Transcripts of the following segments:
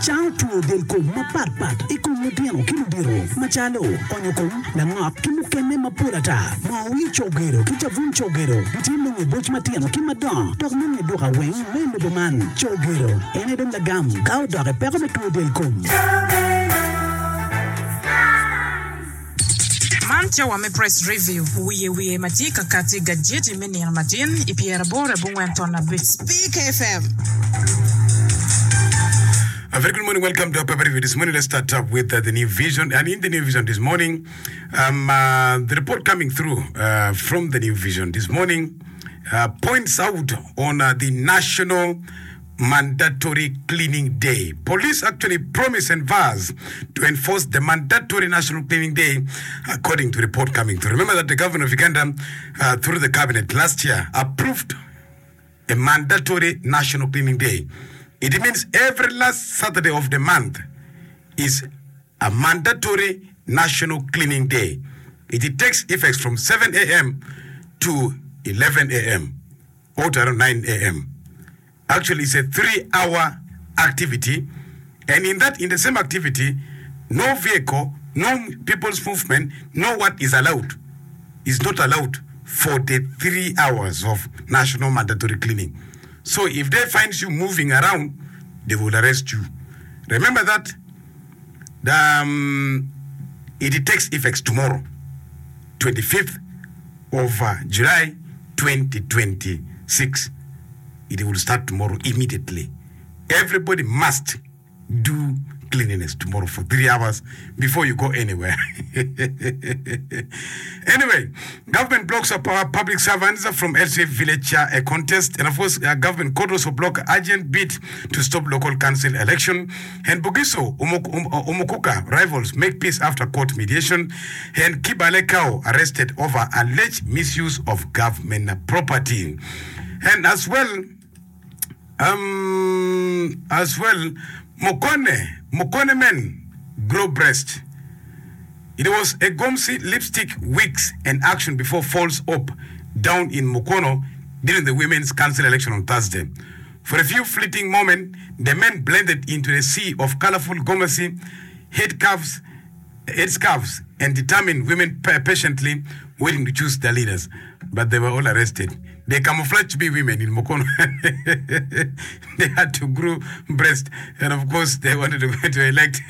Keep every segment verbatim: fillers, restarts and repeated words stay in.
Cango two del kom mapatpat i kom lutino ki ludito macalo onyo kom, langok ki mukene mapol ata. Moo wir cogero ki cabun cogero gitye nongo i boc matino ki madongo dok nongo i duka weng me lobo man. Cogero en aye dong lagam ka odok i peko me two del kom. Man cawa me Press Review, wiye wiye ma tye ka kati i gajeti me nino matin i pyeraboro abongwen ton abic. Speak F M. A very good morning. Welcome to our paper review this morning. Let's start up with uh, the New Vision. And in the New Vision this morning, um, uh, the report coming through uh, from the New Vision this morning uh, points out on uh, the National Mandatory Cleaning Day. Police actually promise and vows to enforce the mandatory National Cleaning Day, according to report coming through. Remember that the government of Uganda, uh, through the cabinet last year, approved a mandatory National Cleaning Day. It means every last Saturday of the month is a mandatory National Cleaning Day. It takes effect from seven a m to eleven a m or to around nine a m. Actually, it's a three-hour activity, and in that, in the same activity, no vehicle, no people's movement, no what is allowed, is not allowed for the three hours of national mandatory cleaning. So if they find you moving around, they will arrest you. Remember that the, um, it takes effect tomorrow, twenty-fifth of uh, July twenty twenty-six. It will start tomorrow immediately. Everybody must do cleanliness tomorrow for three hours before you go anywhere. Anyway, government blocks up uh, public servants from L C Village uh, a contest, and of course, uh, government court also block urgent bid to stop local council election. And Bugisu Umuk- um, uh, Umukuka rivals make peace after court mediation. And Kibale Cow arrested over alleged misuse of government property. And as well, um, as well, Mukone, Mukone men grow breast. It was a gomesi, lipstick, wigs, and action before falls up down in Mukono during the Women's Council election on Thursday. For a few fleeting moments, the men blended into a sea of colorful gomesi, head cuffs, head scarves, and determined women pa- patiently waiting to choose their leaders. But they were all arrested. They camouflaged to be women in Mukono. They had to grow breast. And of course, they wanted to, to elect,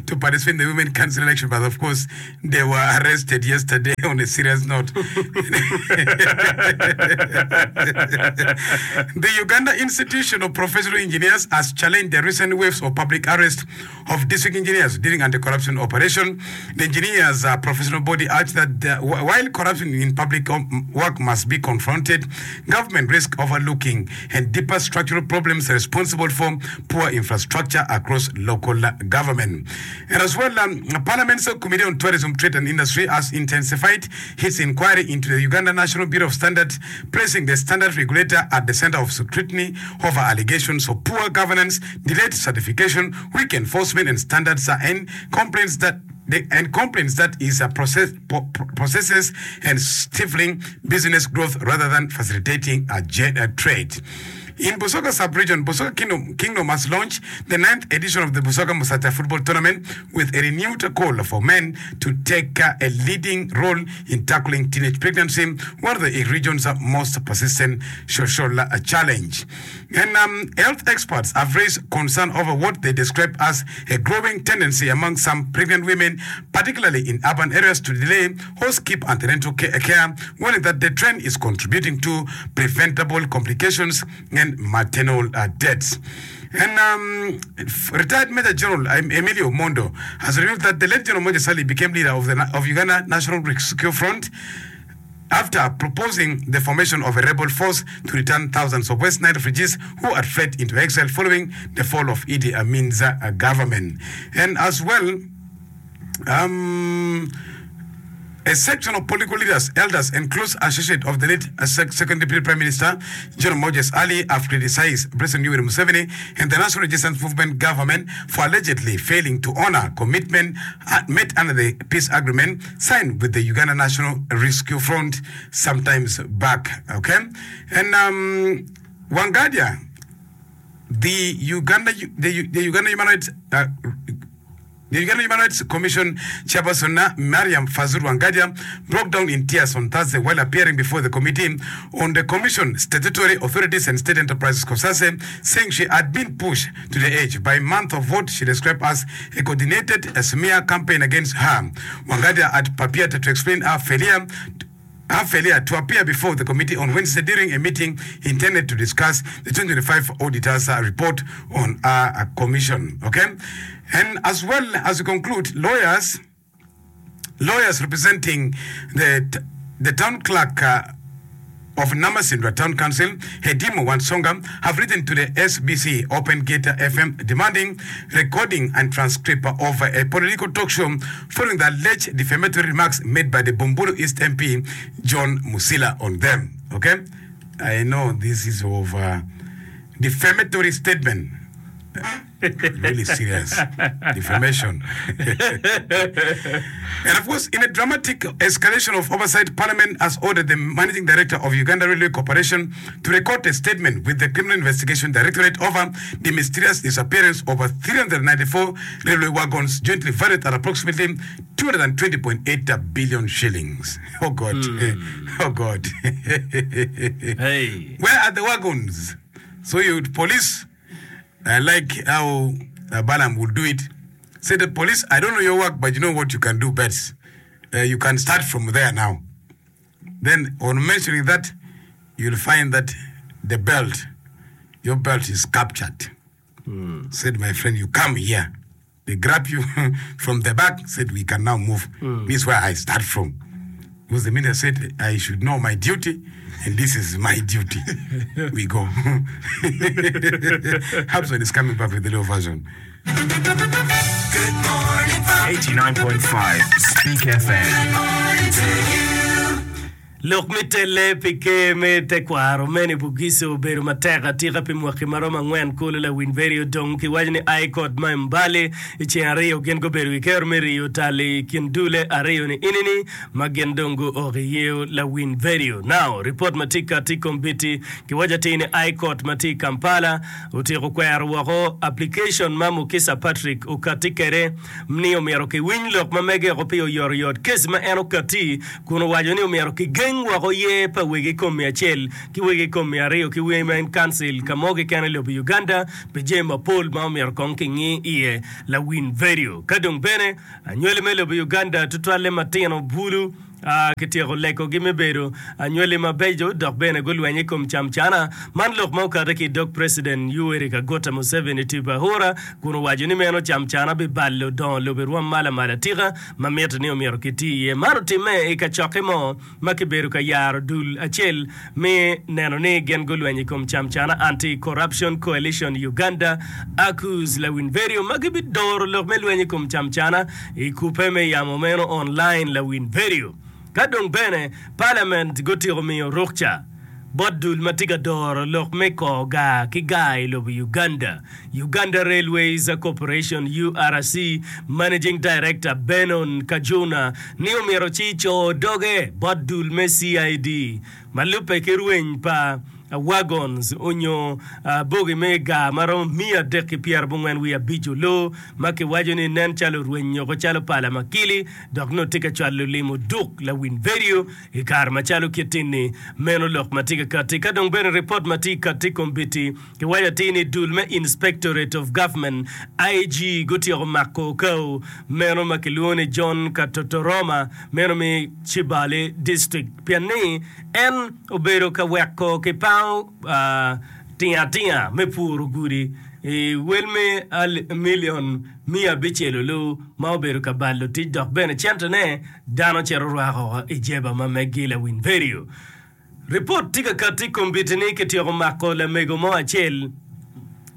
to participate in the Women Council election. But of course, they were arrested yesterday on a serious note. The Uganda Institution of Professional Engineers has challenged the recent waves of public arrest of district engineers during anti-corruption operation. The engineers' uh, professional body urged that the, while corruption in public um, work must be confronted, government risk overlooking and deeper structural problems responsible for poor infrastructure across local government. And as well, um, Parliament's Committee on Tourism, Trade and Industry has intensified its inquiry into the Uganda National Bureau of Standards, placing the standard regulator at the center of scrutiny over allegations of poor governance, delayed certification, weak enforcement and standards, uh, and complaints that the, and complaints that is a process, po- processes and stifling business growth rather than facilitating a, jet, a trade. In Busoga sub-region, Busoga Kingdom, Kingdom has launched the ninth edition of the Busoga Musajja Football Tournament with a renewed call for men to take uh, a leading role in tackling teenage pregnancy, one of the region's most persistent social uh, challenge. And um, health experts have raised concern over what they describe as a growing tendency among some pregnant women, particularly in urban areas, to delay or skip antenatal care, warning that the trend is contributing to preventable complications and maternal uh, deaths. And um, retired Major General Emilio Mondo has revealed that the late General Moses Ali became leader of the of Uganda National Rescue Front after proposing the formation of a rebel force to return thousands of West Nile refugees who had fled into exile following the fall of Idi Amin's uh, government. And as well, um, a section of political leaders, elders, and close associates of the late uh, second Deputy Prime Minister, General Moses Ali, have criticized President Yoweri Museveni and the National Resistance Movement government for allegedly failing to honor commitment uh, made under the peace agreement signed with the Uganda National Rescue Front sometimes back. Okay, and um, Wangadya The Uganda, the, the Uganda Human Rights uh, The Uganda Human Rights Commission Chairperson Mariam Fazul Wangadya broke down in tears on Thursday while appearing before the committee on the Commission, Statutory Authorities and State Enterprises COSASE, saying she had been pushed to the edge by month of what she described as a coordinated smear campaign against her. Wangadya had prepared to explain her failure her failure to appear before the committee on Wednesday during a meeting intended to discuss the twenty twenty-five auditors' report on our commission. Okay, and as well as we conclude, lawyers, lawyers representing the the town clerk uh, of Namisindwa Town Council, Hedimo Wansonga, have written to the S B C Open Gate F M demanding recording and transcript of a political talk show following the alleged defamatory remarks made by the Bumbulu East M P, John Musila, on them. Okay? I know this is of a defamatory statement. Really serious defamation. And of course, in a dramatic escalation of oversight, Parliament has ordered the managing director of Uganda Railway Corporation to record a statement with the Criminal Investigation Directorate over the mysterious disappearance of three hundred ninety-four railway wagons jointly valued at approximately two hundred twenty point eight billion shillings. Oh God. Mm. Oh God. Hey. Where are the wagons? So you police, I like how uh, Balaam would do it. Say the police, I don't know your work, but you know what you can do best. Uh, you can start from there now. Then on mentioning that, you'll find that the belt, your belt is captured. Mm. Said, my friend, you come here. They grab you from the back, said, we can now move. Mm. This is where I start from. Because the minister said, I should know my duty, and this is my duty. We go. Hobson is coming back with the low version. Good morning, eighty-nine point five Speak F M. Good morning to you. Lok mi tele pike me tekwaro meni Bugisu obedo matek atika pi mwaki maromo angwen kulu lawiny verio dong kiwaco ni High Court ma Mbale i ceng aryo gin gubedo ki kero me riyo tal i kin dule aryo ni inini ma gin dong guok iyeo lawiny verio. Now, report ma tye kati kombiti kiwaco atir ni High Court ma tye i Kampala otyeko kwero woko application ma Mukisa Patrick okati kede ni omyero kiwiny lok ma mege oko pi oyotoyot kes ma en okati kun owaco ni omyero kigeng woko ye pa wegi kom mia acel ki wegi kom mia aryo ki Women Council ka mo keken i lobo Uganda pi jami mapol ma omyero kong king'i iye lawiny vedio. Ka dong bene anywali me lobo Uganda tutwalle matino bulu Uh, kityeko lekogi me bedo anywali mabeco dok bene gulweny i kom camcana man lok ma okate ki dog President Yoweri Kaguta Museveni Tibuhaburwa kun owaco ni meno camcana bibalo dongo lobo i rwom malo amalo atika ma mito ni omyero kiti iye. Man otimme i kacokke mo ma kibedo ka yaro dul acel me neno ni gin gulweny i kom camcana Anti-Corruption Coalition Uganda ACCUS lawiny vedio ma gibidoro lok me lweny i kom camcana i kupe me yamo meno online lawiny vedio. Ka dong bene Parliament gutyeko miyo rukca bot dul ma tye ka doro lok me ko gar ki gar i lobo Uganda. Uganda Railways Corporation U R C Managing Director Benon Kajuna ni omyero ci co doge bot dul me C I D ma lubbe ki rweny pa wagons onyo uh, bogi me gar maromo mia adek ki pyera abongwen wiye abic olo ma kiwaco ni nen calo rweny oko calo pala makili dok nongo tye ka cwalo limo duk lawiny vedio i kare macalo kit-ni meno lok ma tye ka kati. Ka dong bene report ma tye kati kombiti kiwaco atir ni dul me Inspectorate of Government I G gutyeko mako okao meno ma kilwongo ni John Katotoroma meno mi Chibale District pien ni en obedo ka weko ki pango uh, tinga tinga me puro gudi i wel me al milion mia abicel olu ma obedo ka balo tic dok bene centene dano cito rwako i jeba ma megi lawiny vedio. Report tye ka kati kombiti ni kityeko mako lamego mo acel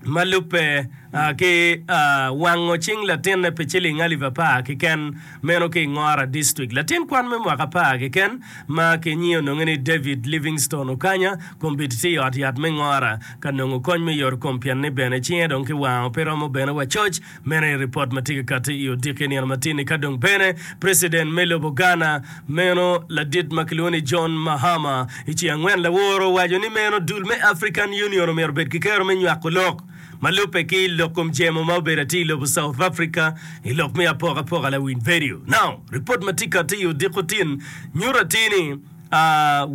ma lubbe uh, ki uh, wango cing latinne pi ciling alip apar keken meno ki Ngora District. Latin kwan me mwaka apar keken ma kinyiyo nonge ni David Livingstone Okanya kombiti tye i ot yat me Ngora ka nongo kony me yot kom pien ni bene cinge dong ki wango pe romo bene wacoc meno i report ma tye ka kati i odiki nino matini. Ka dong bene President me lobo Ghana meno ladit ma kilwongo ni John Mahama i ceng angwen laworo owaco ni meno dul me African Union omyero bed ki kero me nywako lok Ma lubbe ki lok kom jemo ma obedo atir i lobo South Africa i lok me apokapoka lawiny vedio. Now, ripot ma tye kati i odiko tin nyuto atir ni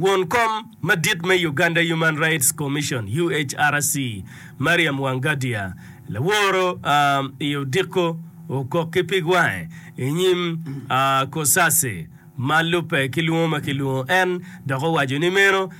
won kom madit me Uganda Human Rights Commission, U H R C, Mariam Wangadia laworo i odiko okok ki pig wange i nyim Cosase ma lubbe ki lwongo ma kilwongo en dok owaco ni meno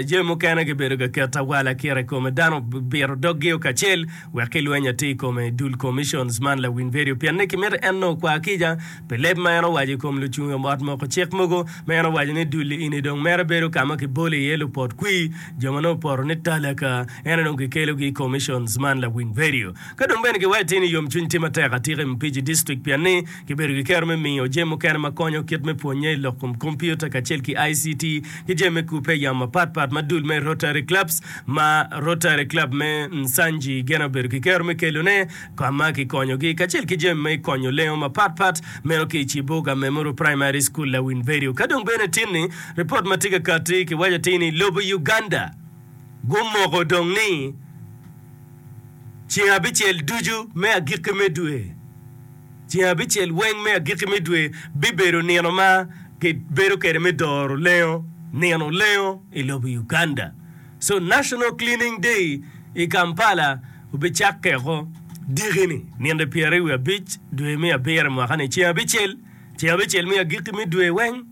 jami mukene kibedo ka keto awala kire i kome dano obito doggi kacel wek kilweny atir i kome dul commissions man lawiny vedio pien ni kimito en nongo okwa kica pi leb ma en owaco i kom lucung i ot moko cik mogo ma en owaco ni dul ini dong mere bedo ka ma kibolo iye lupot kwir jo ma nongo opoto ni talaka en dong kikelogi i commissions man lawiny vedio ka dong bene kiwaco atir ni yomcwiny tye matek atika i Mpiji District pien ni kibedo ki kero me miyo jami mukene ma konyo kit me pwonye i lok kom kompiuta kacel ki I C T ki jami me kubbe yamo mapatpat ma dul me Rotary Clubs ma Rotary Club me Nsangi gin obedo ki kero me kelone ka ma kikonyogi kacel ki jami me konyo lengo mapatpat meno ki i Kiboga Memorial Primary School lawiny vedio ka dong bene tinni ripot ma tye ka kati kiwaco atir ni lobo Uganda gumoko dong ni ceng abicel ducu me agikki me dwe ceng abicel weng me agikki me dwe bibedo nino ma kibedo kwede me doro lengo nino lengo i lobo Uganda. So National Cleaning Day i Kampala obicakkeko diki-ni nino pyeraryo wiye abic dwe me abiro mwaka-ni ceng abicel ceng abicel me agikki me dwe weng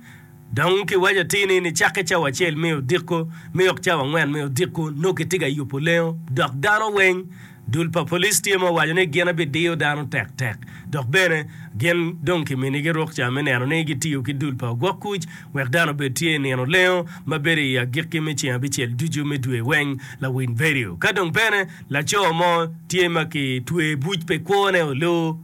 dong kiwaco atir ni nicakke cawa acel me odiko me ok cawa angwen me odiko nongo kitye ka yubo lengo dok dano weng dul pa police tye ma owaco ni gin abidiyo dano tektek dok bene gin dong kiminigi rukca me neno ni gitiyo ki dul pa ogwok kuc wek dano obed tye i nino lengo ma bedo i agikki me ceng abicel ducu me dwe weng lawiny vedio ka dong bene laco mo tye ma kitwe buc pe kwone olo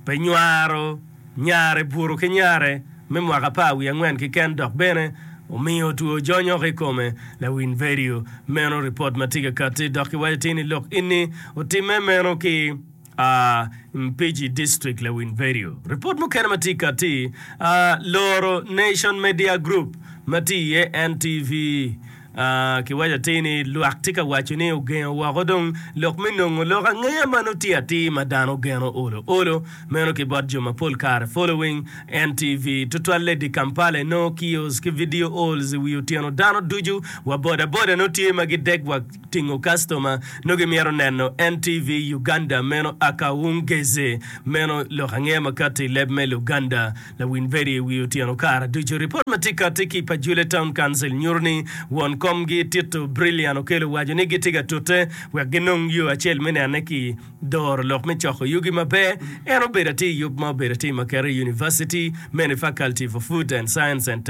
pe nywaro nyare buto ki nyare me mwaka apar wiye angwen keken dok bene omiyo two jonyoko i kome lawiny vedio meno ripot ma tye ka kati dok kiwaco atir ni lok ini otimme meno ki uh, Mpiji District lawiny vedio ripot mukene ma tye kati uh, loro Nation Media Group ma tye iye N T V uh, kiwaco atir ni lwak tye ka waco ni ogengo woko dong lok me nongo lok angeya ma nongo tye atir ma dano geno olo olo meno ki bot jo mapol kare following N T V tutwalle di Kampala inongo kiosk ki video halls i wi otyeno dano ducu wa boda boda nongo tye ma gidek wa tingo customer nongo gimito neno N T V Uganda meno akawungeze meno lok angeya ma kati i leb me Luganda lawiny vedio i wi otyeno kare ducu ripot ma tye kati ki Pajule Town Council nyuto ni won komgi Tito Brilliant okelo waco ni gitye ka tute wek ginong yo acel me nene ki doro lok me coko yugi maber en obedo atir yub ma obedo atir Makerere University mene Faculty for Food and Science and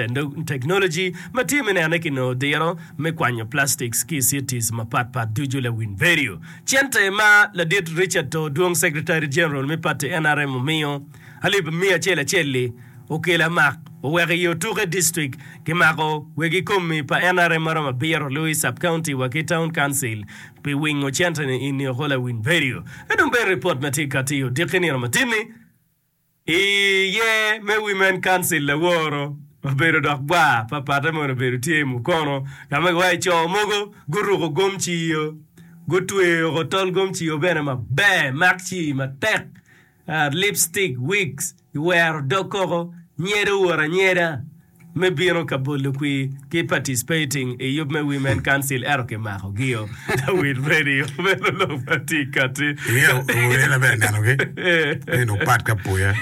Technology ma tye me nene ki nongo diro me kwanyo plastics ki i cities mapatpat ducu lawiny vedio cente ma ladit Richard Todwong Secretary General me party N R M omiyo alip mia acel acel-li okelo amak oweko i Otuke District kimako wegi komi pa N R M maromo abiro Louis Sub-County wa ki Town Council pi wingo cente ni ini oko lawiny vedio ka dong bene ripot ma tye kati odiki nino matin-ni iye me Women Council laworo obedo dok gwa papate mono obedo tye i Mukono ka ma giwaco co mogo guruko gomciyo gutweyo oko tol gomciyo bene maber mak ci matek uh, lipstick, wigs iwero dog koko nyedo owuot anyeda me bino ka bolo kwir ki participating i yub me Women Council ento kimakogio lawiny radio meno lok ma tye kati. Ingeyo owene bene nenogi neno pat ka puya.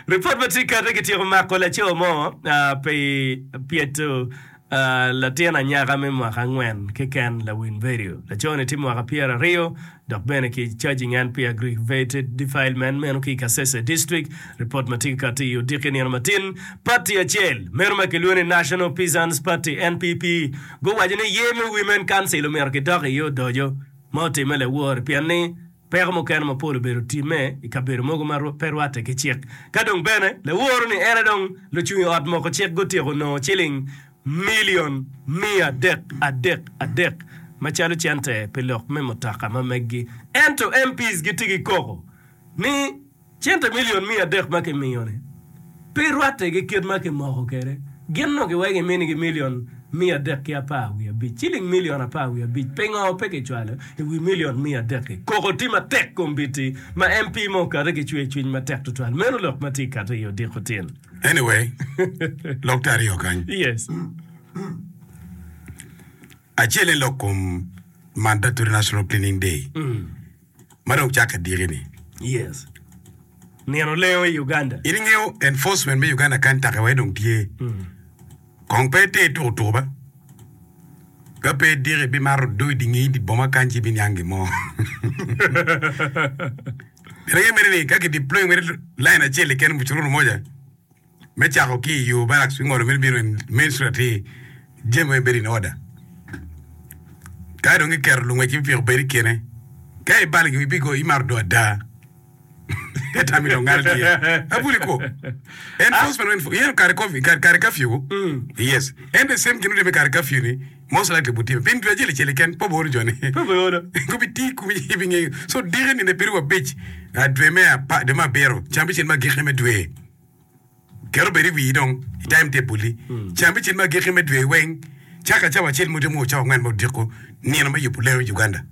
Ripot ma tye kati kityeko mako laco mo uh, pi pyeto uh, latin anyaka me mwaka angwen keken lawiny vedio laco-ni tye mwaka pyeraryo dok bene ki charging en pi aggravated defilement meno ki i Kasese District. Ripot ma tye kati i odiki nino matin party acel meno ma kilwongo ni National Peasants Party N P P guwaco ni ye me Women Council omyero kidok iye odoco ma otimme lawor pien ni peko mukene mapol obedo timme i kabedo mogo ma pe rwatte ki cik ka dong bene laworo ni ene dong lucung i ot moko cik gutyeko nongo ciling milion mia adek adek adek macalo cente pi lok me mutoka ma meggi ento M Ps gitye ki koko ni cente milion mia adek ma kimiyo-ni pe rwatte ki kit ma kimoko kwede gin no giweko giminigi milion miya adek ki apar wiye abic. Ciling milion apar wiye abic pingo pe kicwalo i wi milion miya adek-ki? Koko tye matek kombeddi ma M P mo okate ki cwer cwiny matek tutwal. Meno lok ma tye kate i odiko tin. Anyway, lok te aryo kany. Yes. Acel en lok kom Mandatory National Cleaning Day ma dong cakke diki-ni. Yes. Nino lengo i Uganda. In ingeyo enforcement me Uganda kany take wai dong tye. Kong pe iter tuko tuko ba. Ka pe diki ibimato odo i dingi i boma kany ci ibiniang gin mo. Pien angeyo mere ni ka ki deploy mere line acel keken mucururu moja me cako ki i yo barracks bingolo mere bino i main street atir jami weng bedo in order. Ka dong giketo lungwec ki pikipiki obed i kine ka ibalo gin ibigo imato odo ada. Pe tam i dong ngat tye. Abuli ko. Enforcement enforcement. Yeno kare covid kare kare curfew. Yes. En the same gin otime kare curfew ni most likely butime. Pien dwe acel acel keken pe obedo joni. Pe obedo. Gubi ti kumi ibingeyo. So diki nino piero abic dwe me apar dwe me abiro cam bicel me agikki me dwe. Ket obed i wii dong i time table-li. Cam bicel me agikki me dwe weng caka cawa acel mudyo mo cawa angwen me odiko nino me yubo lengo i Uganda.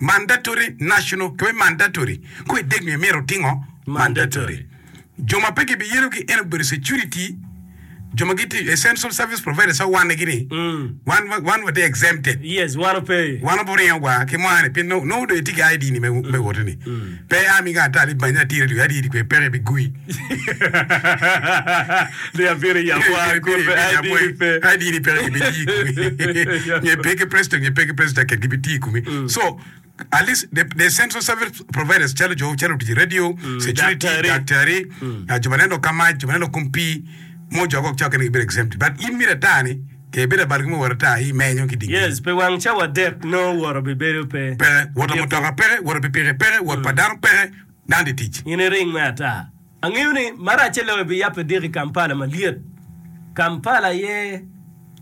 Mandatory national kiwaco mandatory ko idek nyo imito tingo mandatory. Jo ma pe gibiyerogi en obedo security jo ma gitye essential service providers ma wane gini wan wan watye exempted. Yes, wan ope. Wan oburingo gwa ki mwane pien nongo nongo dong itye ki I D ni me me woto ni. Pe ami ga ata ni banyi atir radio I D kwe peke bigui. Ni abiro i yabwa kun pe I D ni pe. I D ni peke gibiti i komi. Nge pe ki president nge pe ki president jacket gibiti i komi. So at least the, the essential service providers calo jo calo tic radio, security, daktari. daktari, uh, jo ma neno ka mac, jo ma neno kom pii, mo jo go cako ni gibedo exempt. But in mito ata ni ke ibedo abal ki mo wot ata i menyo ki dingi. Yes, pe wang cawa adek nongo wot obibedo pe. Peke, wot mutoka peke, wot pikipiki peke, wot pa dano peke, dano di tic. In iring me ata. Angeyo ni maracce loyo biyabbe diki i Kampala malyet. Kampala aye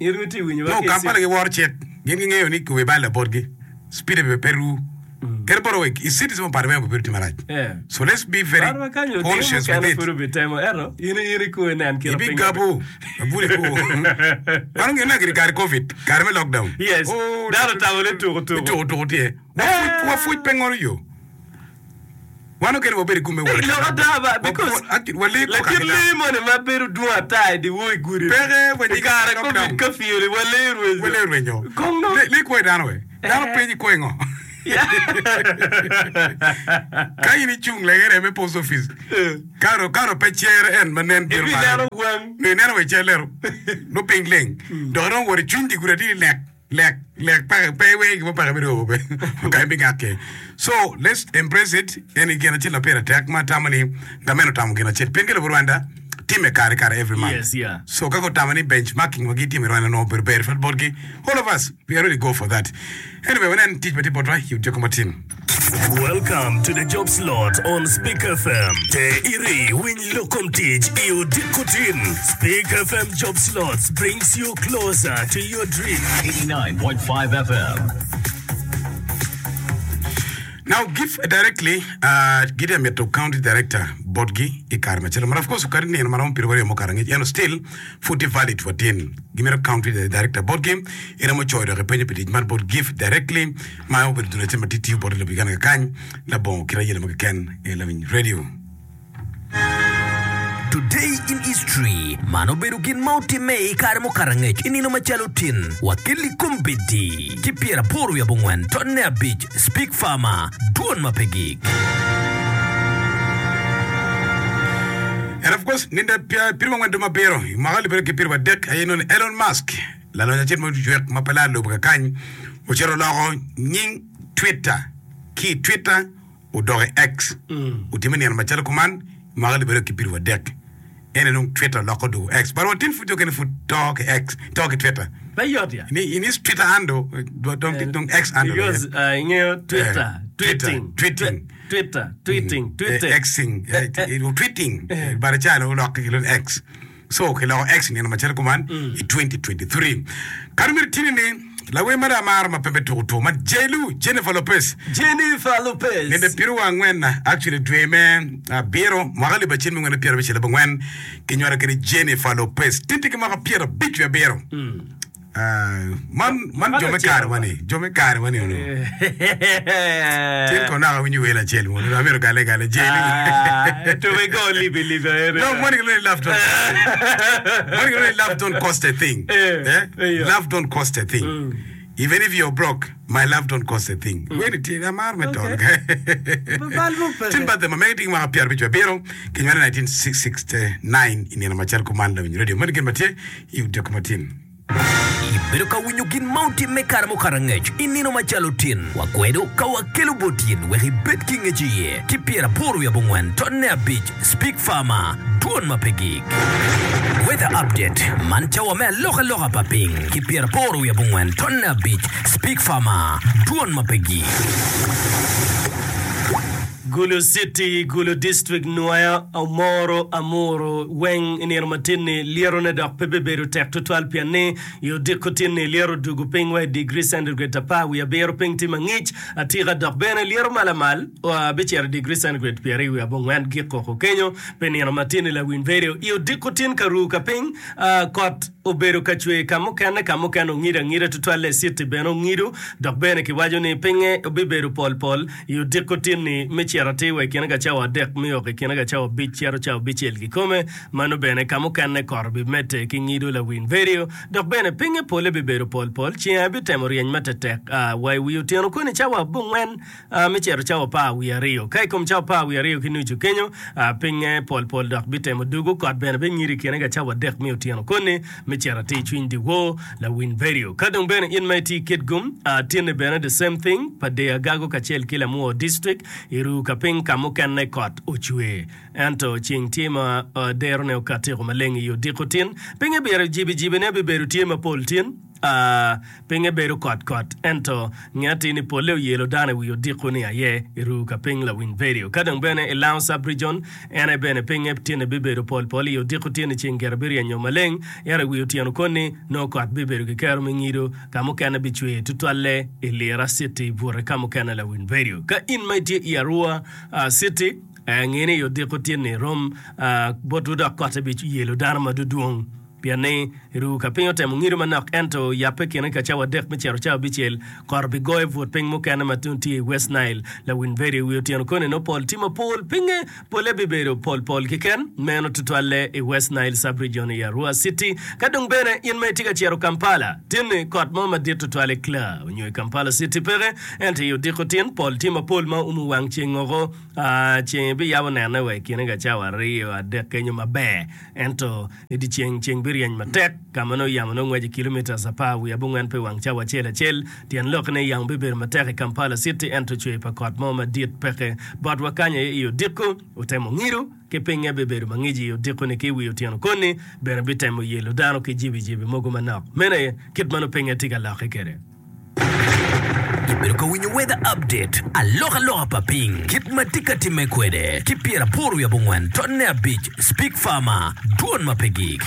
in itye winyo wa No, ki Kampala giworo cik. Gin gingeyo ni kobe bal botgi. Speed be pe ru. Kadi bot wek i cities mo part weng obedo tye marac. Yeah. So let's be very Par ma kanyo otimo conscious with mukene it. pud obitemo ento in in ikuwe nen kit piny Ibigabo abuli ku. Mano ngene giri kare COVID, kare me lockdown. Yes. Oh, Dano otamo ni tuko tuko. Tuko tuko tye. Wafuc wafuc pe ngolo yo. Wan okene wabedo i gume Hey, lok ada ba because wale ko lakit kakina. lee moni ma bedo dwong ata i dyewor i gudi. Peke wa I nyige kare lockdown. COVID curfew ni walee rwenyo. Wale rwenyo. Kong no. Le le kwo dano we. Dano penyi kwo ngo. Ka in icung legere me post office. Karo karo pe cere en ma nen biro Ibi malo. neno wang. Ne neno we cer lero. No piny leng. Dok dong wot i cwiny di gudi atidi lek lek lek peke pe iwe gimo peke bedo be. Ka ibi ngake. So let's embrace it. En gin acel ma pire tek ma atamo ni gameno otamo gin acel. Pien ki lobo Rwanda time kare kare every month. Yes, yeah. So kaka otamo ni benchmarking ma gitimo i Rwanda no obedo ber twal botgi. All of us we are really go for that. Anyway, wanen tic ma tye botwa i odiko matin. Welcome to the job slot on Speak F M. Te iri winy lokom tic i odiko tin. Speak F M job slots brings you closer to your dream. eighty-nine point five F M. Now give directly uh, gitye mito county director botgi i kare macalo but of course kadi nino maromo piero aryo mukato angec ento still pud tye valid watin gimito county director botgi iromo coyo dok ipenyo pi tic man bot give directly ma obedo dul acel ma tye tiyo bote lobo Uganda kakany labongo kit ayelo mo keken i lawiny radio. Today in history man obedo gin ma otimme i kare mukato angec i nino macalo tin wakeli kombeddi ki pyeraboro wiye abongwen tonne abic Speak Farmer dwon ma pe gik. And of course, ninda piero angwen dwe mabiro i mwaka alip aryo ki piero adek aye nongo Elon Musk lalonyo acel ma ojwek ma pe laro lobo kakany ocito oloko nying Twitter ki i Twitter odok i X otime nino macalo kuman i mwaka alip aryo ki piero adek ene dong Twitter oloko odoko X but watin pud jo kene pud to ki X to ki Twitter. Pe yot ya. Ni in his Twitter handle dong dong X handle. Because uh, ingeyo Twitter, Eh, Twitter, tweeting, tweeting. Twitter, tweeting, Eh, tweeting. Xing, eh, eh, tweeting bare calo olokke ki lon X so kiloko X nino macalo kuman i twenty twenty-three kadi myero tini ni lawer mada amaro ma pembe tuko tuko ma J-Lo Jennifer Lopez. Jennifer Lopez. Ninde piero angwen actually dwe me abiro mwaka alip acel miya angwen piero abicel abongwen kinywalo kede Jennifer Lopez tye ki mwaka piero abic wiye abiro. Ah, man man jo me kare wani jo me kare wani ono tin kono naka winyo wel acel mo no amito gale gale jeli To we go libi libi aere. No, money can love don't money can love don't cost a thing. Eh, Eh? eh, yeah. Love don't cost a thing. Even if you're broke, my love don't cost a thing. Wait it amar me ton. Tin ba ma megi ting ma pier bicho biro kinywale nineteen sixty-nine in machal kumanda winyo radio. Money can matie you documentin. Ibedo ka winyo gin ma otimme kare mukato angec i nino macalo tin wakwedo ka wakelo bot in wek ibed ki ngec iye ki pyeraboro wiye abongwen tonne abic Speak Farmer dwon ma pe gik. Weather update man cawa me alokaloka pa piny ki pyeraboro wiye abongwen tonne abic Speak Farmer dwon ma pe gik. Gulu City, Gulu District, Nwoya, Omoro, Amuru, weng i nino matin-ni lyerone dok pe bibedo tek tutwal pien ni i odiko tin-ni lyero odugo piny wa i digri centigrade apar wiye abiro piny tye mangic atika dok bene lyero malamal uh, bicito i digri centigrade pyeraryo wiye abongwen gik koko kenyo pi nino matin-ni lawiny vedio i odiko tin ka ruu ka piny uh, kot obedo ka cwer ka mukene ka mukene ongido angida tutwal i city bene ongido dok bene kiwaco ni pinye bibedo pol pol i odiko tin-ni me cito atir wa i kine ka cawa adek me ok i kine ka cawa abic cito cawa abicel kikome mano bene ka mukene kot bimedde ki ngido lawiny vedio dok bene pinye pole bibedo pol pol ceng bitemo ryeny matetek uh, wa i wi otyeno koni cawa abongwen uh, me cito cawa apar wiye aryo ka i kom cawa apar wiye aryo ki nucu kenyo uh, pinye pol pol dok bitemo dugo kot bene bingido i kine ka cawa adek me otyeno koni me cito atir cwiny dyewor lawiny vedio ka dong bene in ma itye i Kitgum uh, tinni bene the same thing pa Dei Agago kacel ki Lamwo district iru ka piny ka mukene kot ocwe ento ceng tye ma uh, derone okatiko maleng i odiko tin pinye biro jibijibine bibedo tye mapol tin uh, pinye bedo kot kot ento ngati ni pole oyelo dano i wi odiko ni aye iru ka piny lawiny vedio ka dong bene i Lango sub-region en aye bene pinye tinni bibedo pol pol i odiko tin ceng gire biryenyo maleng ento i wi otyeno koni nongo kot bibedo ki kero me ngido ka mukene bicwer tutwalle i Lira City bute ka mukene lawiny vedio ka in ma itye i Arua uh, City eh, ngeni i odiko tin-ni rom uh, botwu dok kotte biyelo dano ma dudwong pien ni ru ka piny otemo ngido manok ento yappe kine ka cawa adek me cito cawa abicel kot bigoyo but piny mukene ma tye i West Nile lawiny vedio wi otyeno koni no pol tye mapol pinye pole bibedo pol pol keken meno tutwalle i West Nile sub-region i Arua City ka dong bene in ma itye ka cito Kampala tinni kot mo madit tutwal i Kla onyo i Kampala City peke ento i odiko tin pol tye mapol ma umo wang ceng oko uh, ceng biyabo nene wa i kine ka cawa aryo adek kenyo maber ento i dye ceng ceng biryeny matek ka ma nongo yamo nongo ngweco kilometers apar wiye abongwen pe wang cawa acel acel tyen lok ni yamo bibedo matek i Kampala City ento cwer pa kot mo madit peke botwa kany aye i odiko otemo ngido ki pinye bibedo mangic i odiko ni ki wi otyeno koni bene bitemo yelo dano ki jibijibi mogo manok meno aye kit ma nongo pinye tye ka lokke kwede. Ibedo ka winyo weather update alokaloka pa piny kit ma tye ka timme kwede ki pyeraboro wiye abongwen tonne abic Speak Farmer dwon ma pe gik.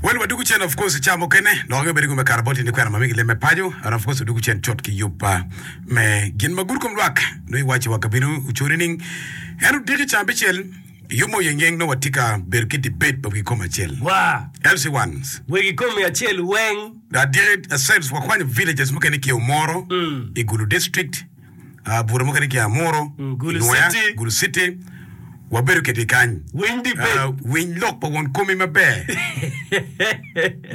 Well, wadugu cen of course ca mukene dok ange bedo me kara bot ni kwena ma migi leme paco and of course wadugu cen cut ki yub pa me gin ma gudo kom lwak no iwaco wa kabino ocori ning en odiki ca abicel yub mo yeng no watye ka bedo ki debate pa wi kom acel Wa L C ones wegi komi acel weng adiki cells wakwanyo villages mukene ki Omoro i Gulu district uh, bura mukene ki Amuru Gulu Nwoya, City. Gulu City wabedo kede kany winy debate Uh, winy lok pa won komi maber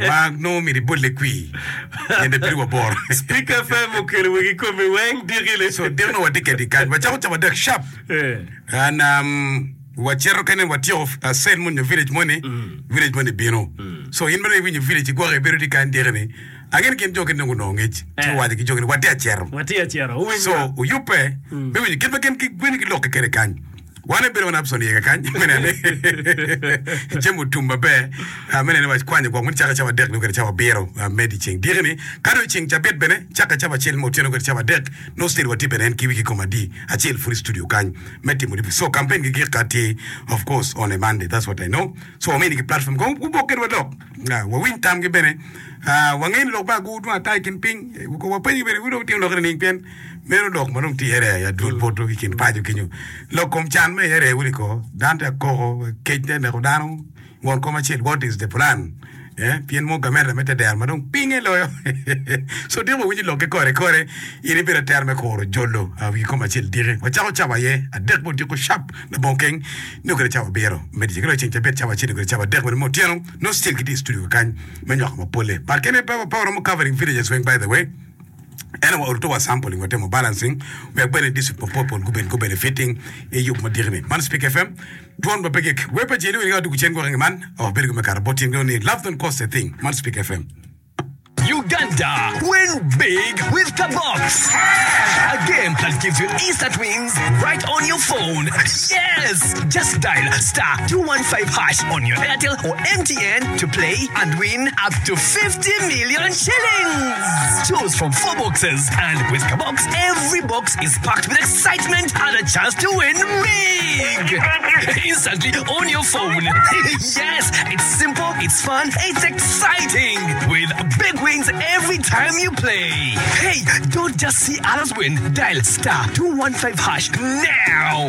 ma nongo myero ibole kwi ende biri waboro Speak F M okelo wegi komi weng dikile so dikno watye kede kany wacako cawa adek sharp Eh. and um, wacito kene watyeko uh, cell mo nyo village moni village moni bino so in bene iwinyo village igwoke ibedo tye kany dikini angene gin jo kene nongo onongo ngec ci Eh. owaco ki jo kene watye acero watye acero owinyo so oyubbe me winyo kit ma gin gwen ki lok kede kany wan ebedo wan Abson iye kany me nene jami otum maber ah, me nene wac kwanyo gwok moni caka cawa adek nyo kede cawa abiro ah, me dyeceng dikini ka dong ceng cabit bene caka cawa acel me otyeno kede cawa adek no still watye bene en ki wiki kom adi acel pud i studio kany me timo di so campaign gi gik ka tye of course on a Monday, that's what I know. So wamini ki platform ko wubok kede walok. Ah, wawiny tamgi bene. Ah, wangeyo ni lok ba agur dwong ata i kin piny. Eh, wapenyo bene wudong timo lok nining pien meno lok ma dong tye ere adwol poto i kin paco kenyo lok kom can me ere wuli ko dano tye akoko kec tye neko dano won kom acel what is the plan Eh, pien mo gamente me teder ma dong pinge loyo. So diko winyo lok ki kore kore in ibedo atera me kuro jolo uh, wi kom acel diki. Wacako cawa aye adek mo diko sharp labongo keng nio kede cawa abiro me dyeceng. Ki dong ceng cabit cawa acel nio kede cawa adek bene me otyeno nongo still gitye i studio kakany me nywako mapole. But kene pe pe waromo covering villages weng by the way. Ento wa oruto wa sampling watemo balancing wek bene district mapol pol gubed gu benefiting i yub madiki ni. Man Speak F M dwon ma pe gik. Wer pa jeli wini ka wadugu cen gwok inge man wabedo gi me kato bot tyen gi ni love don't cost a thing. Man Speak F M. Uganda, win big with Kabox. A game that gives you instant wins right on your phone. Yes! Just dial star two one five hash on your Airtel or M T N to play and win up to fifty million shillings. Choose from four boxes, and with Kabox, every box is packed with excitement and a chance to win big. Instantly on your phone. Yes, it's simple, it's fun, it's exciting. With big wins every time you play. Hey, don't just see others win. Dial star two one five hash now.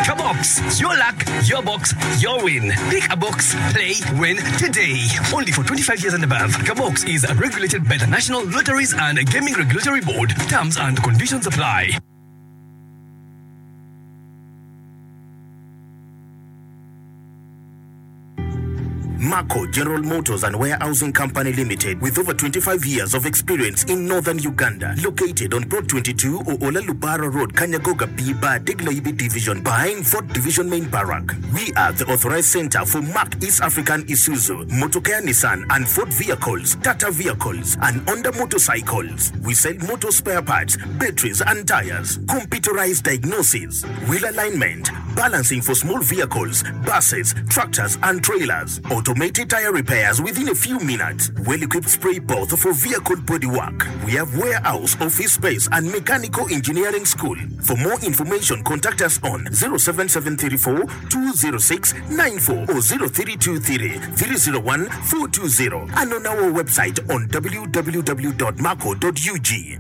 Kabox, your luck, your box, your win. Pick a box, play, win today. Only for twenty-five years and above. Kabox is regulated by the National Lotteries and Gaming Regulatory Board. Terms and conditions apply. Marco General Motors and Warehousing Company Limited, with over twenty-five years of experience in northern Uganda, located on Plot twenty-two, Oola Lubara Road, Kanyagoga B Bar, Diglaibi Division, behind Fort Division Main Barrack. We are the authorized center for Mark East African Isuzu, Motocare Nissan and Ford vehicles, Tata vehicles, and Honda motorcycles. We sell motor spare parts, batteries and tires, computerized diagnosis, wheel alignment, balancing for small vehicles, buses, tractors and trailers, automated tire repairs within a few minutes, well-equipped spray booth for vehicle bodywork. We have warehouse, office space and mechanical engineering school. For more information, contact us on zero seven seven three four two zero six nine four or zero three two three three zero one four two zero and on our website on w w w dot marco dot u g.